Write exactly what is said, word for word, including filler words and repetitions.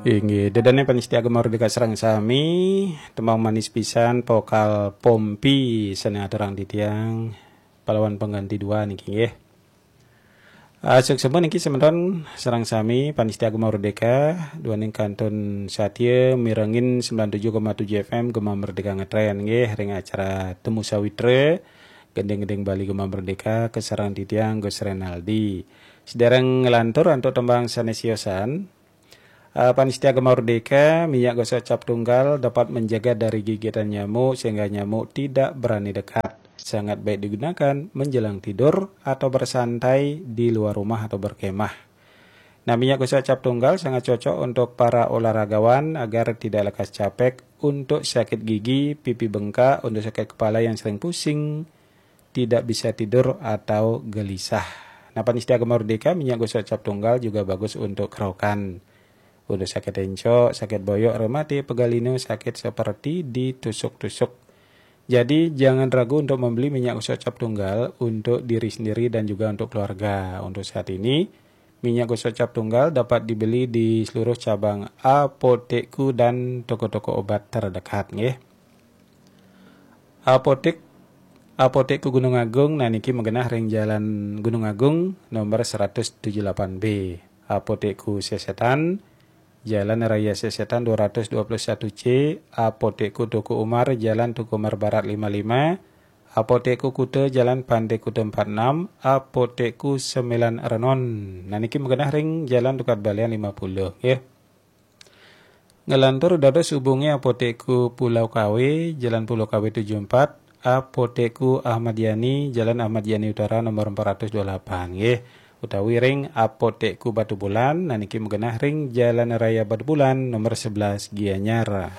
Inggih, ida dané pamiarsa Gema Merdeka sareng sami, tembang manis pisan, vokal Pompi, sané aturang titiang, Pahlawan Pengganti dua niki nggih. Ah, suksma niki semeton sareng sami pamiarsa Gema Merdeka, duaning kantun satia mirengin sembilan tujuh koma tujuh F M Gema Merdeka ngetren nggih ring acara Temu Sawitra, gending-gending Bali Gema Merdeka, kasarengin titiang Gus Renaldi. Sedereng nglantur antuk tembang sané siosan, ah, pamiarsa Gema Merdeka, minyak gosok cap tunggal dapat menjaga dari gigitan nyamuk sehingga nyamuk tidak berani dekat. Sangat baik digunakan menjelang tidur atau bersantai di luar rumah atau berkemah. Nah, minyak gosok cap tunggal sangat cocok untuk para olahragawan agar tidak lekas capek, untuk sakit gigi, pipi bengkak, untuk sakit kepala yang sering pusing, tidak bisa tidur atau gelisah. Nah, pamiarsa Gema Merdeka, minyak gosok cap tunggal juga bagus untuk kerokan. Untuk sakit encok, sakit boyok, rematik, pegal linu, sakit seperti ditusuk-tusuk. Jadi, jangan ragu untuk membeli minyak gosok cap tunggal untuk diri sendiri dan juga untuk keluarga. Untuk saat ini, minyak gosok cap tunggal dapat dibeli di seluruh cabang Apotekku dan toko-toko obat terdekat, nggih. Apotek, Apotekku Gunung Agung, nah niki magenah ring Jalan Gunung Agung, nomor seratus tujuh delapan B. Apotekku Sesetan, Jalan Raya Sesetan dua ratus dua puluh satu C, Apotekku Teuku Umar, Jalan Teuku Umar Barat lima lima, Apotekku Kuta, Jalan Pantai Kuta empat enam, Apotekku Sembilan Renon. Nah, niki magenah ring Jalan Tukad Balian lima puluh, nggih. Nglantur dados hubungi Apotekku Pulau Kawe, Jalan Pulau Kawe tujuh empat, Apotekku Ahmad Yani, Jalan Ahmad Yani Utara nomor empat ratus dua puluh delapan, nggih. Utawi ring Apotekku Batubulan, nah niki magenah ring Jalan Raya Batubulan nomor sebelas Gianyar.